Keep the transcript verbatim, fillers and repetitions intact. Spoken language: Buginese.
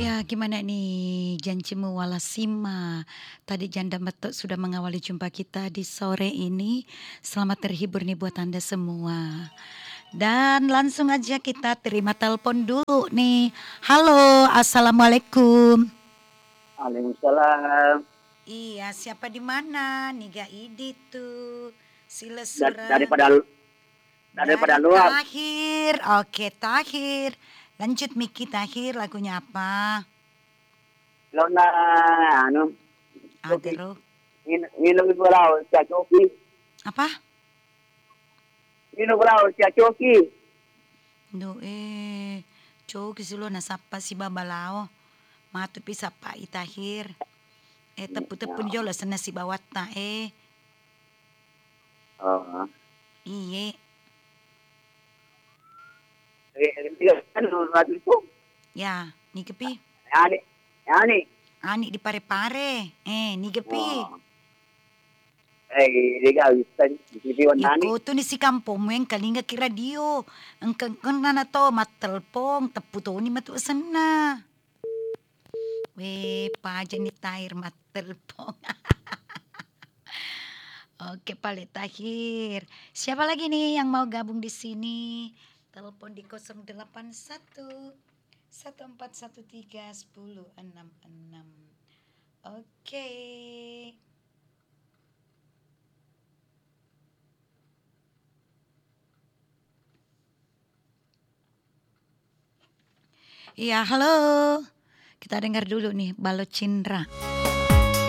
Ya, gimana nih janjimu, Walasima? Tadi Janda Metok sudah mengawali jumpa kita di sore ini. Selamat terhibur nih buat Anda semua. Dan langsung aja kita terima telepon dulu nih. Halo, assalamualaikum. Waalaikumsalam. Iya, siapa di mana? Niga idi tu. Sila Da-, sura. Daripada, daripada Dari luar. Tahir. Oke, Tahir. Lanjut, Miki Tahir, lagunya apa? Lona, anu, Coki. Agaro. Min-, minum ibu lau, sia Coki. Apa? Minum lau, sia Coki. Duh, eh, Coki silo nasappa si baba lao. Matu pi sappa i Tahir. Eh, teppu-teppu jolo senna si bawatta, eh. Oh. Iye. Eh, eh, anu, Ratu itu. Ya, niga pi? Ani, ani. Ani di Pare-Pare. Eh, niga pi? Oh. Eh, niga bisa di, di, di Wandani. Iko tu ni si kampong muen kalinga ki radio. Engka, engka nana to mattelpong, teppu toni matu senna. Weh, paja ni Tahir mattelpong. Oke, pale Tahir. Siapa lagi nih yang mau gabung di sini? Telepon di kosong delapan satu, satu empat satu tiga, sepuluh enam enam. Oke. Iya, halo. Kita dengar dulu nih, Balo Cindra.